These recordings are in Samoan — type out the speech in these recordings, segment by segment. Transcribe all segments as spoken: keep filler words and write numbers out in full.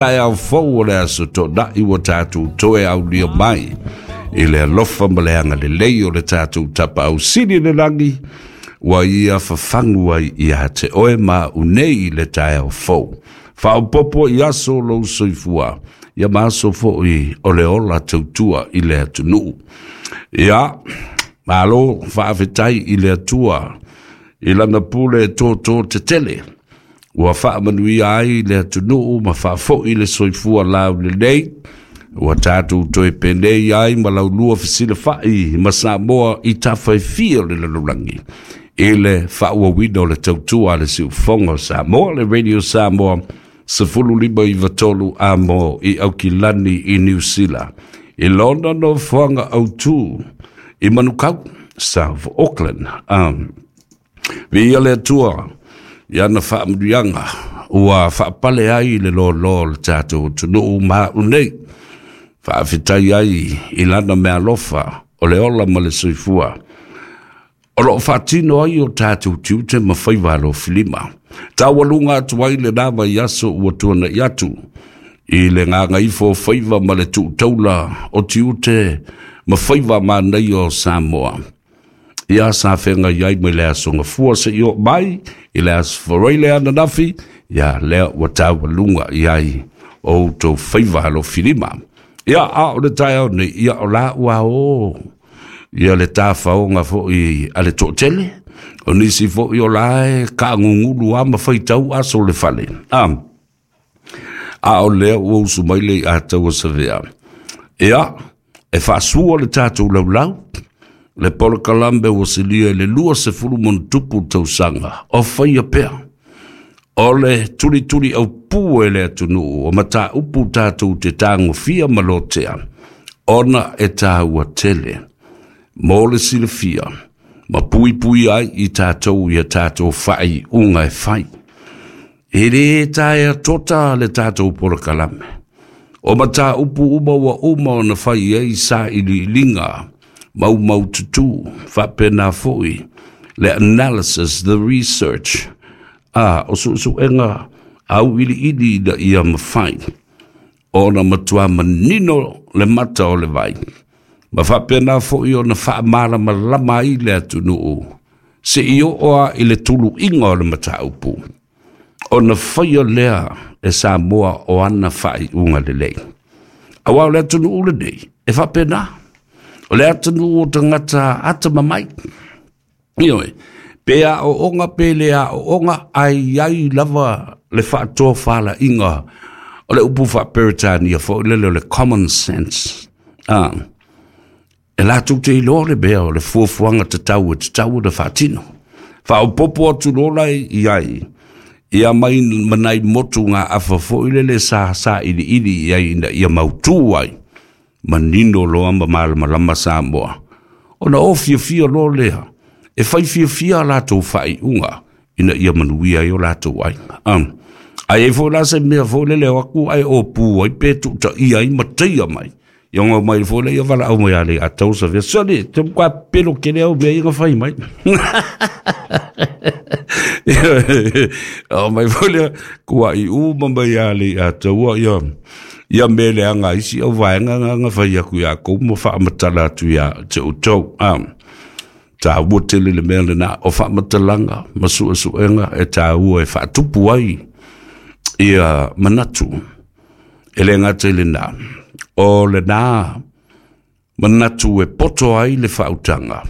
Taeao fou o le aso Toonai ua tatou toe aulia mai i le alofa ma le agalelei o le tatou Tapaau Sili i le lagi ua ia fafagu ai ia te oe ma au nei i le taeao fou. Faaopoopo i aso o lou soifua, ia ma aso foi o le ola tautua i le atunuu. Ia, malo faafetai i le Atua i lana pule tōtō tetele ua faamanuia ai le atunuu ma faafoi le soifua laulelei ua tatou toe penei ai ma laulua fesilafai ma Samoa i tafa e fia o le lalolagi i le faaauauina o le tautua a le Siufofoga o Samoa, le Radio Samoa, sefulu lima iva tolu amo i Aukilani i Niu Sila i lona nofoaga autu i Manukau, South Auckland. Um, Viia le Atua i ana faamanuiaga ua faapale ai le lōlō o le tatou atunuu ma au nei. Faafetai ai i lana meaalofa o le ola ma le soifua o loo faatino ai o tatou tiute ma faiva alofilima. Taualuga atu ai lenā vaiaso ua tuana'i atu i le gagaifo o faiva ma le tuutaula o tiute ma faiva manaia o Samoa. Ia sa feagai ai mai le aso Gafua seia oo mai i le aso Faraile ananafi, ia lea ua taualuga i ai o outou faiva alofilima. Ia, a o le taeao nei, ia o la ua o ia le tafaoga foi a le toatele, o nisi foi o la e kaagugulu a ma faitau aso o le fale. A, a o lea ua usu mai le iataua savea. Ia, e faasua le tatou laulau, le polokalame ua silia i le lua sefulu ma ona tupu tausaga o faia pea. O le tulituli aupū e le atunuu o mataupu tatou te tagofia ma lotea, ona e tāua tele mo le silafia ma puipui ai i tatou ia tatou faaiuga e fai. E lē taea tota le tatou polokalame. O mataupu uma ua uma ona fai ai sailiiliga maumaututu faapena foi le analysis, the research, a o suesuega auiliili ina ia mafai ona matua manino le mata o le vai ma faapena foi ona faamalamalama ai le atunuu seia oo a i le tuluiga o le mataupu ona faia lea e Samoa o ana faaiuga lelei. Auā o le atunuu lenei e faapena, o le atunuu o tagata atamamai. Ioe, pe aooga pe le aooga, ae i ai lava le faatofalaiga o le upu faaperetania foi lele o le common sense. Ah, e latou te iloa le mea o le fuafuaga tatau e tatau ona faatino. Faaopoopo atu loa la i ai ia mai ma nai motu gaafa foi lele sa sailiili i ai ina ia mautū ai, manino loa ma malamalama Samoa. Ona o fiafia loa lea, e fai fiafia a latou faaiuga ina ia manuia ai o latou aiga. Um, ae ai foi la se mea foi lele o aku ae opū ai pe tuutaia ai ma taia mai. Ia ngau mai foi le ia valaau mai a le atau sa vea. Sole, te mkwa pelo kele au mea inga fai mai. O mai foi le kua i u ma mai a le atau ia ia me le anga isi au vaenga nga nga fai aku ia kou mo faamatala atu ia te outou. Um, tāua tele le mea lenā o faamatalaga ma suesuega e tāua e faatupu ai ia manatu e le gata i lenā o lenā manatu e poto ai le faautaga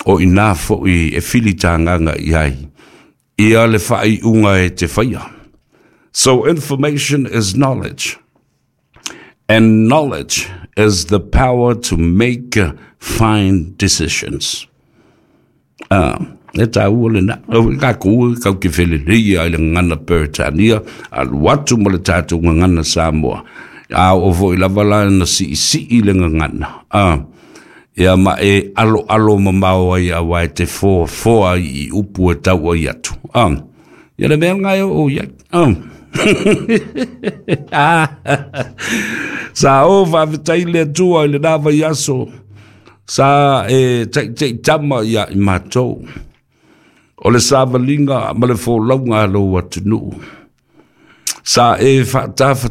o inā foi e filitagaga i ai ia le faaiuga e te faia. So information is knowledge, and knowledge is the power to make fine decisions. Ah, e tāua lenā. Ka kua kau ke felelei ai le gagana Peretania, alu atu ma le tatou gagana Samoa. A o foi lava la na siisii le gagana. Ah, ia ma e alo alo mamao ai auā e te foafoa i upu e tau ai atu. Ah, ia le mea ngai o ia. Ah. Sa o faafetai le Atua i lenā vaiaso sa e taitaitama ia i matou o le savaliga ma le folauga a lou atunuu. Sa e faatafa